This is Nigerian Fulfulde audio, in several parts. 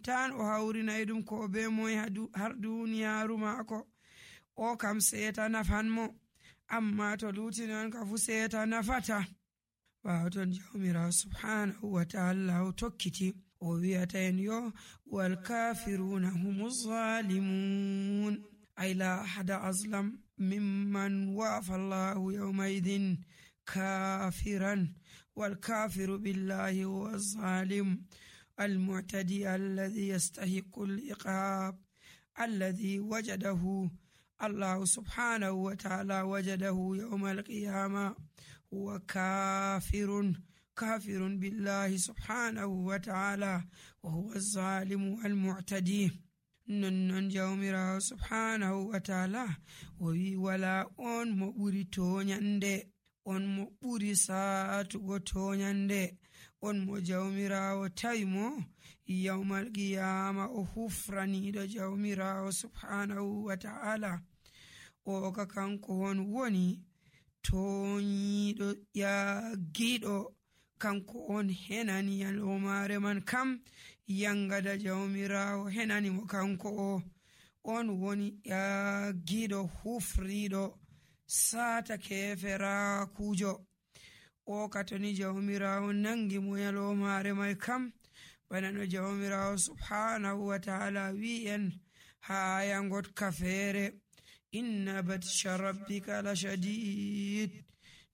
tan o hawrinay ɗum ko be moy har duniyaaru maako. O kam seeta nafanmo, amma to luti non ka fu seeta nafata. ɓaawo ton jawmirawo subhanahu wa ta'ala o tokkiti o wi'ata en yo wal kafiruna humu zalimun, ay la ahada azlam mimman wafa allahu yawmaidin kafiran. wal kafiru billahi huwa zalim المعتدي الذي يستحق العقاب الذي وجده الله سبحانه وتعالى وجده يوم القيامة هو كافر بالله سبحانه وتعالى وهو الظالم المعتدي. نن جومرا سبحانه وتعالى وي ولا on mo ɓuri toñande, on mo ɓuri saatugo toñande, on mo jawmirawo tawi mo yawmal qiyama o hufraniɗo jawmirawo subhanahu wa ta'ala. o ka kanko on woni toñiɗo yaggiɗo, kanko on henani yalomare man kam yangada jawmirawo henani mo, kanko on woni yaggiɗo hufriɗo sata keferakujo. o katoni jawmirawo nangi mo yalomare mai kam bana no jawmirawo subhanahu wa ta'ala wi'en ha yangot kafere inna batsha rabbika la shadid,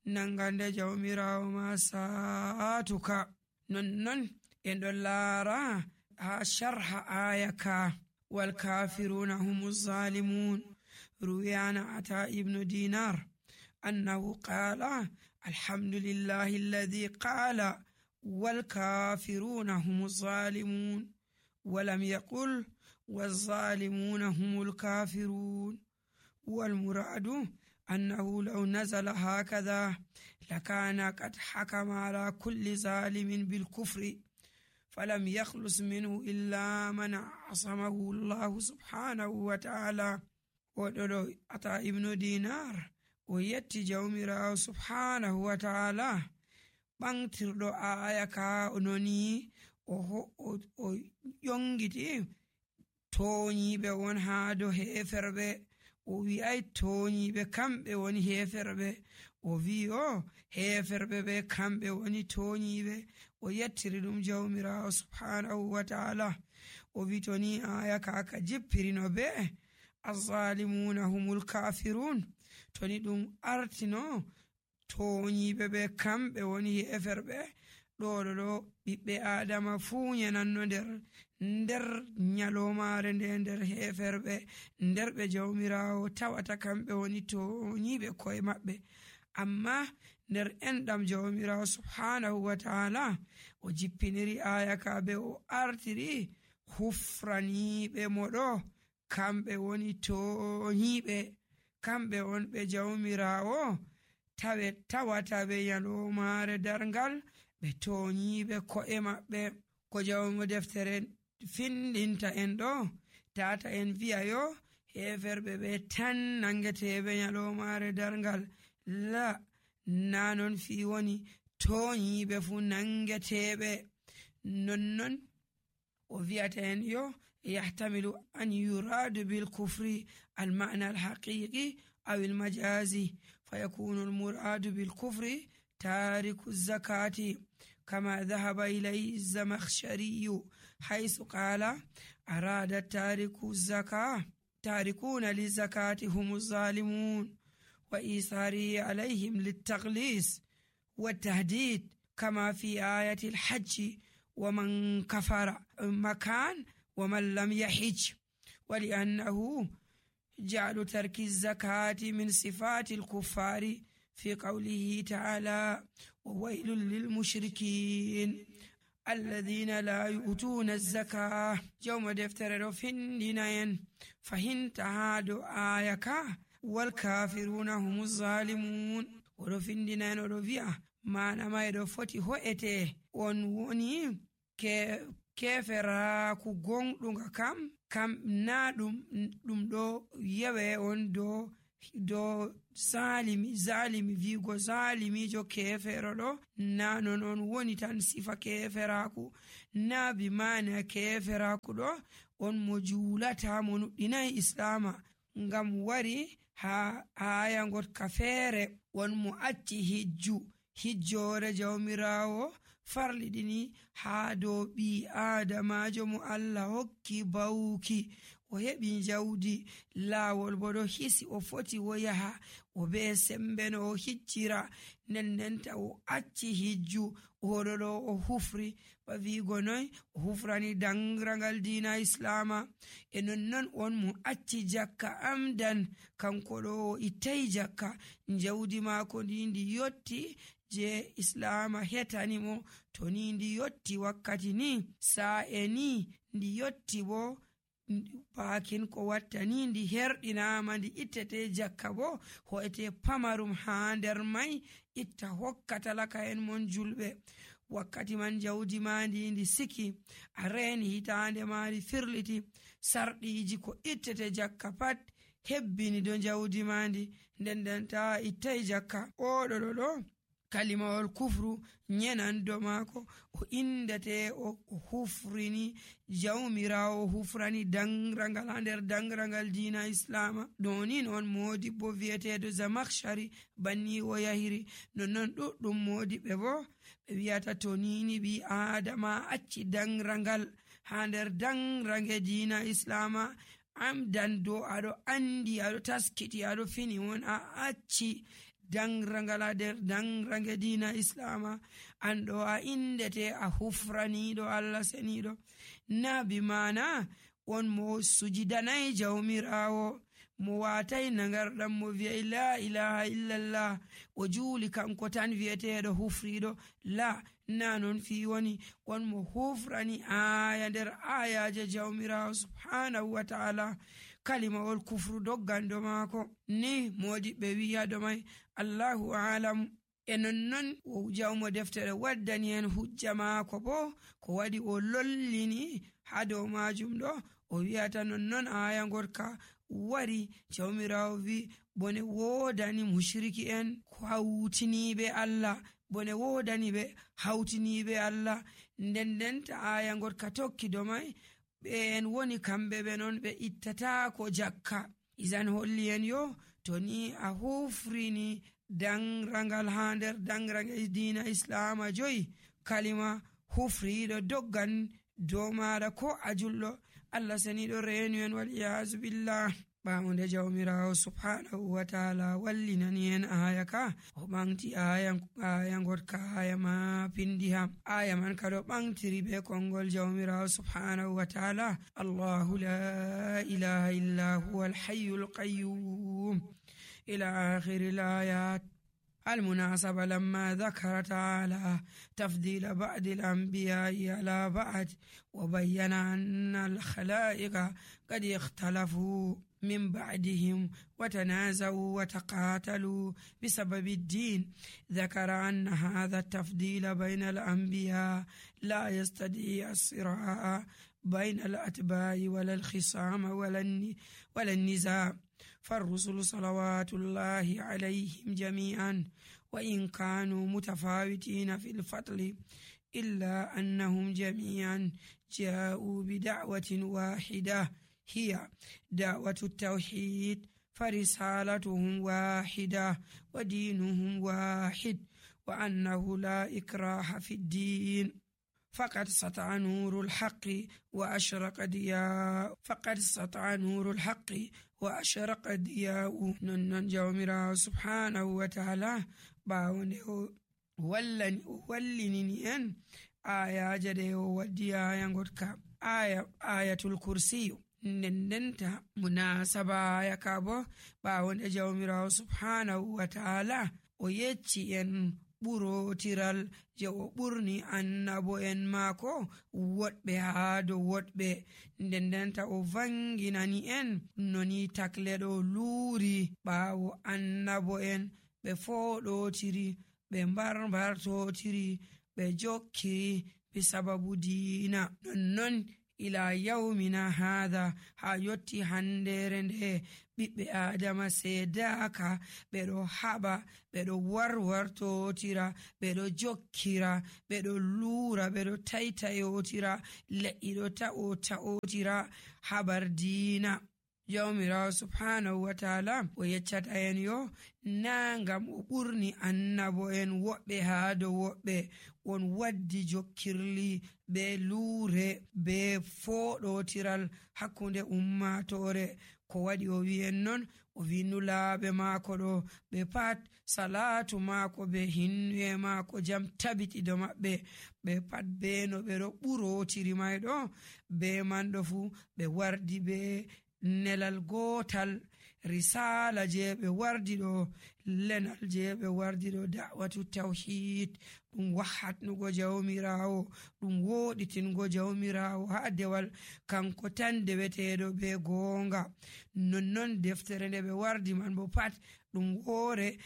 nangande jawmirawo ma saatuka. nonnon en ɗon laara ha sharha aya ka wal kafiruna humu zalimun. ruwiyana ata ibnu dinar annahu qala alhamdulillahi alladhi qala wal kafiruna humu zalimun walam yaqul والظالمون هم الكافرون. والمراد أنه لو نزل هكذا لكان قد حكم على كل ظالم بالكفر فلم يخلص منه إلا من عصمه الله سبحانه وتعالى. ودلو أتا ابن دينار ويتي جومرا سبحانه وتعالى بانتردو آية كا أنوني o yongiti toñiɓe won haa do heferɓe. o wi'ay toñiɓe kamɓe woni heferɓe, o wi heferɓe ɓe kamɓe woni toñiɓe. o yettiri ɗum jawmirawo subhanahu wa ta'ala. o wi to ni aya kaka jippirino ɓe azzalimuna humul kafirun, to ni ɗum artino toñiɓe ɓe kamɓe woni heferɓe, ɗo ɓiɓɓe adama fuu yananno nder nyalomare nder heferɓe nder ɓe jawmirawo tawata kamɓe woni toñiɓe koye maɓɓe. amma nder enɗam jawmirawo subhanahu wa ta'ala o jippiniri aya ka be o artiri hufraniɓe moɗo kamɓe woni toñiɓe, kamɓe on ɓe jawmirawo tawata ɓe nyalomare darngal ɓe toñiɓe ko'e maɓɓe. ko jawmo deftere findinta en ɗo tata en wi'a yo heferɓe ɓe tan nangeteɓe nyalomare darngal, la na non fi woni toñiɓe fu nangeteɓe. nonnon o wi'ata en yo yahtamilu an yuradu bil kufri al ma'na al haqiqi aw al majazi fayakunu al muradu bil kufri tariku zakati كما ذهب إليه الزمخشري حيث قال أراد تاركون للزكاة هم الظالمون وإيثاره عليهم للتغليظ والتهديد كما في آية الحج ومن كفر مكان ومن لم يحج. ولأنه جعل ترك الزكاة من صفات الكفار في قوله تعالى وويل للمشركين الذين لا يؤتون الزكاة. يوم دفتر فندين فهنت هادو آيكا والكافرون هم الظالمون. ورفندين ورفيا ما نما يدو فتي هوئته ونوني keferaku gonɗuga kam na ɗum ɗo yewe on do zalimi vigo zalimijo kefero ɗo na non on woni tan sifa keferaku, naabi maana keferakuɗo on mo juulata mo nuɗɗinayi islama ngam wari ha aya gotka feere on mo acci hijjore jawmirawo farliɗini ha dow ɓi adamajo mo Allah hokki bawuki o heɓi jawdi laawol bo ɗo hisi o foti o yaha o be sembe no o hijjira ndendenta o acci hijju oɗo ɗo o hufri ba wigo noy o hufrani dangragal dina islama e nonnon on mo acci jakka amdan kanko ɗo o ittay jakka jawdi maako ndi yotti je islama hetani mo to ni ndi yotti wakkati ni sa'e ni ndi yotti bo bakin ko watta ni ndi herɗinama ndi ittete jakka bo ho'ete pamarum ha nder mai itta hokka talaka en mon julɓe wakkati man jawdi ma ndi siki a reni hitande mari firliti sarɗiji ko ittete jakka pat hebbini do jawdi ma ndi ndendenta ittay jakka oɗo ɗo kalimawol kufru nyenan do maako o indate o hufrini jawmirawo o hufrani dangragal ha nder dangragal dina islama donin on modi bo viyetedo Zamakhshari banni o yahiri nonnon ɗuɗɗum modi ɓe bo ɓe wiyata to nini ɓi adama acci dangragal ha nder dangrange dina islama amdan do aɗo andi aɗo taskiti aɗo fini won a acci dangrangala nder dangrange dina islama an ɗo a indete a hufraniɗo Allah seniɗo nabi mana on mo sujidanayi jawmirawo mo watai nagarɗam mo wi'ay la ilaha illallah o juuli kanko tan wi'eteɗo hufriɗo la na non fi woni on mo hufrani aya nder ayaje jawmirawo subhanahu wa ta'ala kalimawol kufru doggando maako ni modi ɓe wi'a do mai Allahu alam e nonnon o jawmo deftere waddani en hujja maako bo ko waɗi o lollini ha dow majum ɗo o wi'ata nonnon aya gorka wari jawmirawo wi bone wodani mushriki en hawtiniɓe Allah bone wodani ɓe hawtiniɓe Allah ndendenta aya gorka tokki do mai ɓe en woni kamɓe ɓe non ɓe ittata ko jakka izan holli en yo to ni a hufrini dangrangal ha nder dangrange dina islama joyi kalima hufriɗo doggan dow maɗa ko a julɗo Allah seniɗo renu en wal iyazu billah ɓamude jawmirawo subhanahu wa ta'ala wallinani en aya ka o ɓanti aya gotka aya ma pindi ham aya man kado ɓantiri be kongol jawmirawo subhanahu wa ta'ala Allahu la ilaha illa huwa al-hayyul qayyum ila akhiril ayat المناسبة لما ذكر تعالى تفضيل بعض الأنبياء على بعض وبين أن الخلائق قد اختلفوا من بعدهم وتنازعوا وتقاتلوا بسبب الدين ذكر أن هذا التفضيل بين الأنبياء لا يستدعي الصراع بين الأتباع ولا الخصام ولا النزاع فالرسل صلوات الله عليهم جميعا وإن كانوا متفاوتين في الفضل إلا أنهم جميعا جاءوا بدعوة واحدة هي دعوة التوحيد فرسالتهم واحدة ودينهم واحد وأنه لا إكراه في الدين فقد سطع نور الحق وأشرق ضياء نن جومرا سبحانه وتعالى باونde wallini en ayaje ɗe o waddi aya gotka ayatul kursiyu ndendenta munasaba aya ka bo ɓawonde jawmirawo subhanahu wa ta'ala o yecci en ɓurotiral je o ɓurni annabo en maako woɗɓe haa dow woɗɓe ndendenta o vanginani en noni takle ɗo luuri ɓaawo annabo en ɓe foɗotiri ɓe mbartotiri ɓe jokkiri be sababu diina nonnon ila yawmina hadha ha yotti handere nde ɓiɓɓe adama sedaka ɓeɗo haɓa ɓeɗo warwartotira ɓeɗo jokkira ɓeɗo lura ɓeɗo taitayotira le'i ɗo ta'otira habar diina. Jawmirawo subhanahu wa ta'ala o yeccata en yo na ngam o ɓurni annabo en woɓɓe haa dow woɓɓe on waddi jokkirli be luure be foɗotiral hakkunde ummatore ko waɗi o wi'en non o wi nulaaɓe maako ɗo ɓe pat salatu maako be hinnuye maako jam tabitido maɓɓe ɓe pat be no ɓe ɗo ɓurotiri may ɗo be man ɗo fu ɓe wardi be nelal gotal risala je ɓe wardi ɗo lenal je ɓe wardi ɗo da'watu tawhid ɗum wahatnugo jawmirawo ɗum woɗitingo jawmirawo ha dewal kanko tan deweteɗo be gonga. Nonnon deftere nde ɓe wardi man bo pat ɗum woore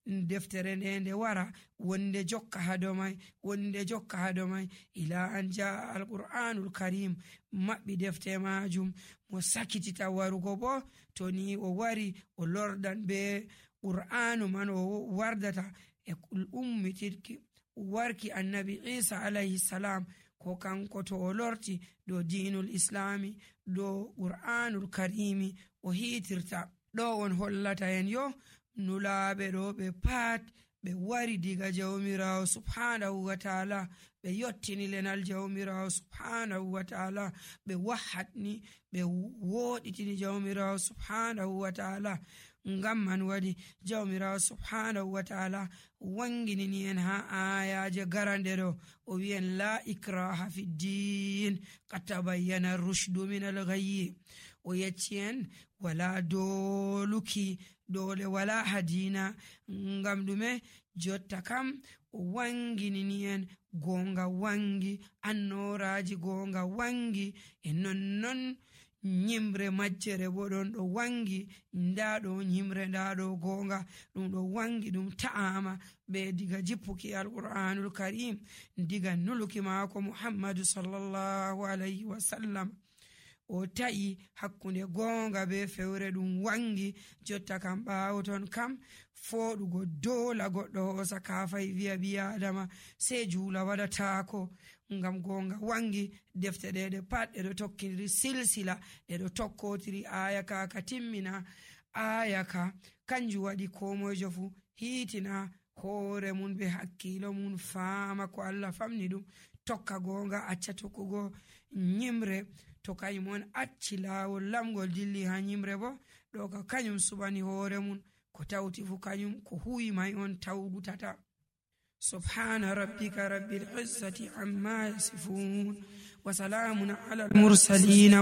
deftere nde wara wonde jokka hado may ila an jaa alqur'anul karim maɓɓi defte majum mo sakitita warugo bo to ni o wari o lordan be qur'anu man o wardata e ummitirki warki annabi Isa alayhi salam ko kanko to o lorti do dinul islami do qur'anul karimi o hitirta ɗo on hollata en yo nulaɓe ɗo ɓe pat ɓe wari diga jawmirawo subhanahu wa ta'ala ɓe yottini lenal jawmirawo subhanahu wa ta'ala ɓe wahatni ɓe woɗitini jawmirawo subhanahu wa ta'ala. Ngam man wadi jawmirawo subhanahu wa ta'ala wanginini en ha ayaje garande ɗo o wi'en la ikraha fi din qad tabayyana rushdu min al-ghayy. O yecci en wala doluki dole wala hadina ngam ɗume jotta kam o wanginini en gonga wangi annoraji gonga wangi e nonnon nyimre majjere bo ɗon ɗo wangi nda ɗo nyimre nda ɗo gonga ɗum ɗo wangi ɗum ta'ama be diga jippuki alqur'anul karim diga nuluki maako muhammadu sallallahu alayhi wa sallam o ta'i hakkunde gonga be fewre ɗum wangi jotta kam ɓawo ton kam foɗugo dola goɗɗo hosa kafay wiya biya adama sei juula waɗatako ngam gonga wangi defte ɗeɗe pat ɗeɗo tokkidiri silsila ɗeɗo tokkotiri aya ka timmina aya ka kanjum waɗi ko moyjo fu hiitina hoore mun be hakkilo mun faama ko Allah famni ɗum tokka gonga acca tokkugo nyimre to kañum on acci laawol lamgol dilli ha nyimre bo ɗo ka kañum suɓani hoore mun ko tawti fu kañum ko huwi may on tawgutata. Subhana rabbika rabbil izzati amma yasifun wa salamun ala al mursalin.